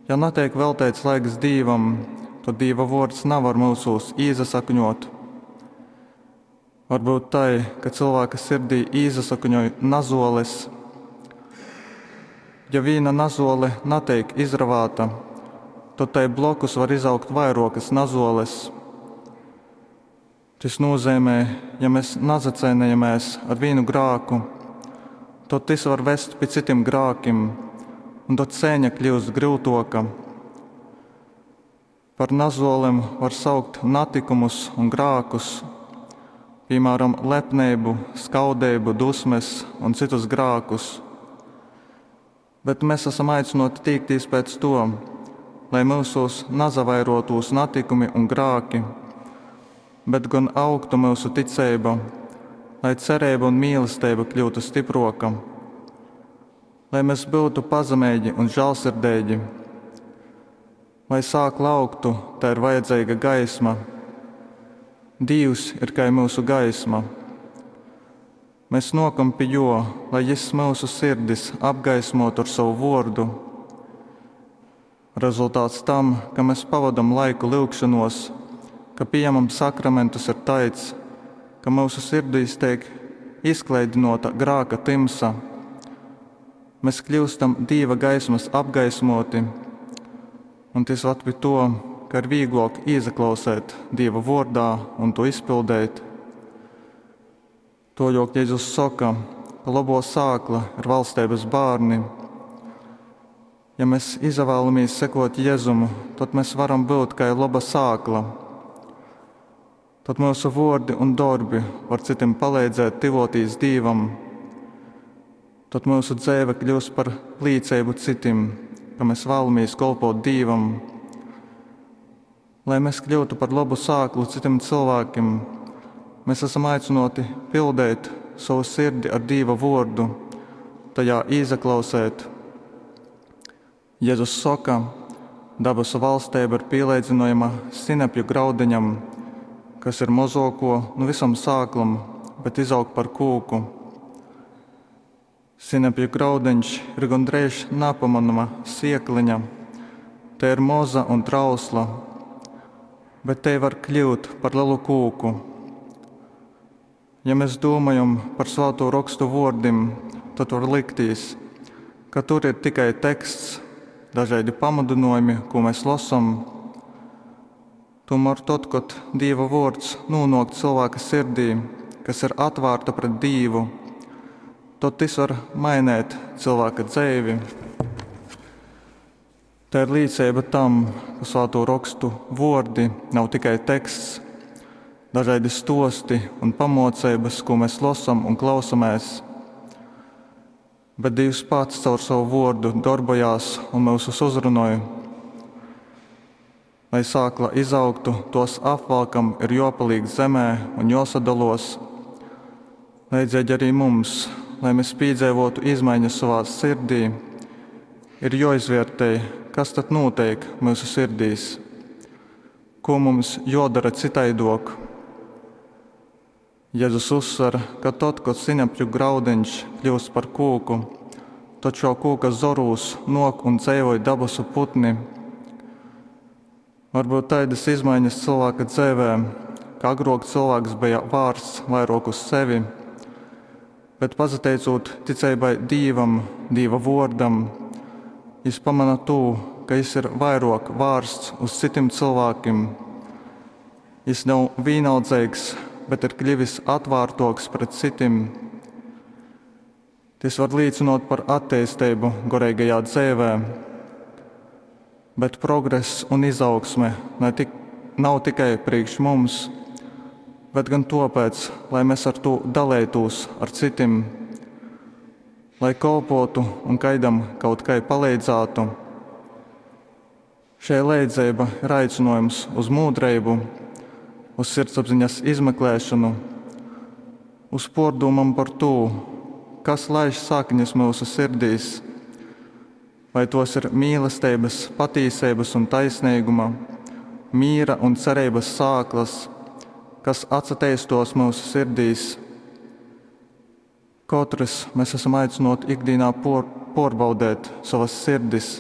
Ja nateik velteits laiks Dīvam, tod Dīva vuords navar myusūs īsasakņuot. Var byut tai, ka cylvāka sirdī īsasakņoj nazuoles. Ja vīna nazuole nateik izravāta, tod tai blokus var izaugt vairuokys nazuoles. Tys nūzeimej, ja mes nazaceinejamēs ar vīnu grāku, tod tys var vest pi cytim grākim, un tod ceiņa kļiust gryutuoka. Par nazuolem var saukt natykumus un grākus, pīmāram, lepneibu, skaudeibu, dusmes un cytus grākus. Bet mes asam aicynuoti tīktīs pēc tuo, lai myusūs nasavairuotūs natikumi un grāki, bet gon augtu myusu ticeiba, lai cereiba un mīlesteiba kļūtu stypruoka, lai mes byutu pazemeigi un žālsirdeigi. Lai sākla augtu, tai ir vajadzeiga gaisma. Dīvs ir kai myusu gaisma. Mes nuokam pi Juo, lai Jis myusu sirdis apgaismuotu ar sovu vuordu. Rezultāts tam, ka mes pavodam laiku lyugšonuos, ka pījamam sakramentus, ir taids, ka myusu sirdīs teik izkleidynuota grāka tymsa. Mes kļiustam Dīva gaismys apgaismuoti, un tys vad pi tuo, ka ir vīgluok īsaklausēt Dīva vuordā un tū izpildeit. Tuoļuok Jezus soka, ka lobuo sākla ir valsteibys bārni. Ja mes izavēlamīs sekuot Jezum, tod mes varam byut kai loba sākla. Tod myusu vuordi un dorbi var cytim paleidzēt tyvuotīs Dīvam. Tod myusu dzeive kļiust par līceibu cytim, ka mes vēlamīs kolpot Dīvam. Lai mes kļyutu par lobu sāklu cytim cylvākim, mes asam aicynuoti pildeit sovu sirdi ar Dīva vuordu, tajā īsaklausēt. Jezus soka, dabasu valsteiba ir pīleidzynojama sinepju graudeņam, kas ir mozuokuo nu vysom sāklom, bet izaug par kūku. Sinepju graudeņš ir gondreiž napamonama siekleņa. Tei ir moza un trausla, bet tei var kļiut par lelu kūku. Ja mes dūmojam par Svātū Rokstu vuordim, tod var liktīs, ka tur ir tikai teksts, dažaidi pamudynuojumi, kū mes losom. Tūmār tod, kod Dīva vuords nūnuok cylvāka sirdī, kas ir atvārta pret Dīvu, tod tys var mainēt cylvāka dzeivi. Tā ir līceiba tam, ka Svātū Rokstu vuordi nav tikai teksts, dažaidi stuosti un pamuoceibys, kū mes losam un klausomēs, bet Dīvs pats caur sovu vuordu dorbojās un myusus uzrunoj. Lai sākla izaugtu, tuos apvalkam ir juopalīk zemē un juosadoluos. Leidzeigi arī mums, lai mes pīdzeivuotu izmaiņas sovā sirdī, ir juoizviertej, kas tad nūteik myusu sirdīs, ko mums juodara cytaiduok. Jezus uzsver, ka tod, kod sinepju graudeņš kļiust par kūku, tod šuo kūka zorūs nuok un dzeivoj dabasu putni. Var byut taidys izmaiņas cylvāka dzeivē, ka agruok cylvāks beja vārsts vairuok uz sevi, bet pasateicūt ticeibai Dīvam, Dīva vuordam, jis pamona tū, ka jis ir vairuok vārsts uz cytim cylvākim. Jis nav vīnaldzeigs, bet ir kļivis atvārtuoks pret cytim. Tys var līcynuot par atteisteibu goreigajā dzeivē. Bet progress un izaugsme ne tik, nav tikai priekš mums, bet gan tuopēc, lai mes ar tū daleitūs ar cytim, lai kolpotu un kaidam kaut kai paleidzātu. Šei leidzeiba ir aicynuojums uz mūdreibu, uz sirdsapziņas izmeklēšanu, uz puordūmom par tū, kas laiž saknis myusu sirdīs, vai tuos ir mīlesteibys, patīseibys un taisneiguma, mīra un cereibys sāklys, kas atsateistuos myusu sirdīs. Kotrys mes asam aicynuoti ikdīnā puorbaudēt sovys sirdis,